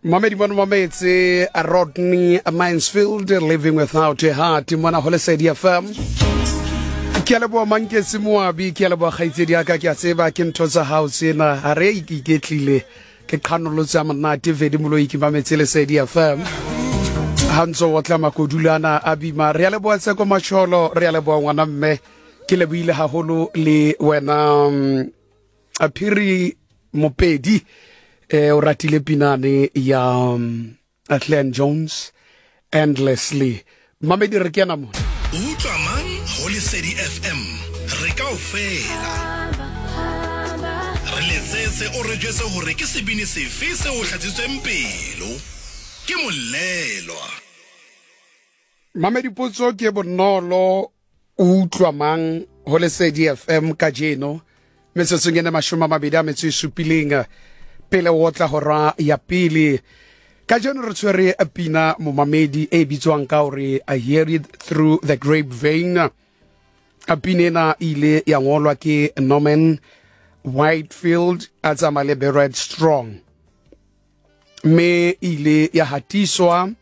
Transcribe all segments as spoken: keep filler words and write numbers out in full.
Mamedi mono mametse Rodney Mansfield, Living Without a Heart, mona ho Lesedi F M. Ke a leboha Manketse Moabi, ke a leboha kgaitsedi ya ka, ke a tseba ke ntho tsa hao tsena. Ha re iketlile ke qhanolotse ya monate vedi moloi ke mametse Lesedi F M. Ha ntso o tla makodulana a bima. Re a leboha Tseko Macholo, re a leboha ngwana mme. Ke lebohile haholo le wena mm, Phiri Mopedi, eh o ratile pinane ya um, Glenn Jones, Endlessly. Mamedi, re kena mona. Utlwa mang ho Lesedi F M, re kaofela re letsetse o re jwetse hore ke sebini sefe se o hlatsitsweng pelo ke molelwa. Mamedi, potso ke bonolo: o utlwa mang ho Lesedi F M kajeno metsotsong ene mashome a mabedi a metso e supileng pele o tla hora ya pele? Kajeno re tshwere pina, momamedi, e bitswang ka hore I Hear It Through the Grapevine. Pina ena e ile ya ngolwa ke Norman Whitefield a tsamaya le Barrett Strong, mme e ile ya hatiswa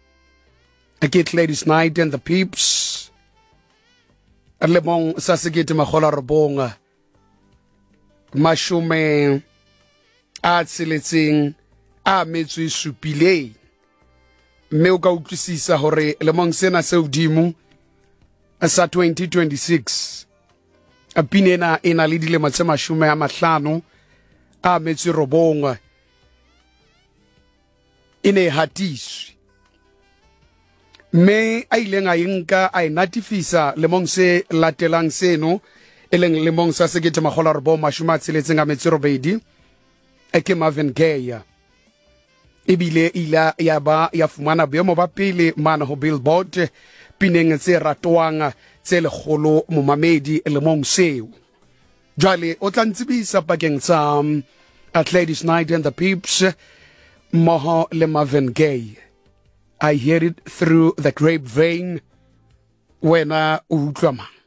ke Gladys Knight and the Pips lemong sa sekete makgolo a robong mashome a tsheletseng a metso e supileng. Mme o ka utlwisisa hore lemong sena se hodimo sa twenty twenty-six, pina ena e na le dilemo tse mashome a mahlano a metso e robong e ne e hatiswe. Mme a ileng a e nka a e natifisa lemong se latelang seno, e leng lemong sa sekete makgolo a robong mashome a tsheletseng a metso e robedi, e ke Marvin Gaye. Ebile ile ya ba ya fumana boemo ba pele mane ho Billboard pineng tse ratwang tse lekgolo, momamedi, lemong seo. Jwale o tla ntsebisa pakeng tsa um, Gladys Knight and the Pips mmoho le Marvin Gaye, I Hear It Through the Grapevine, wena o utlwa mang?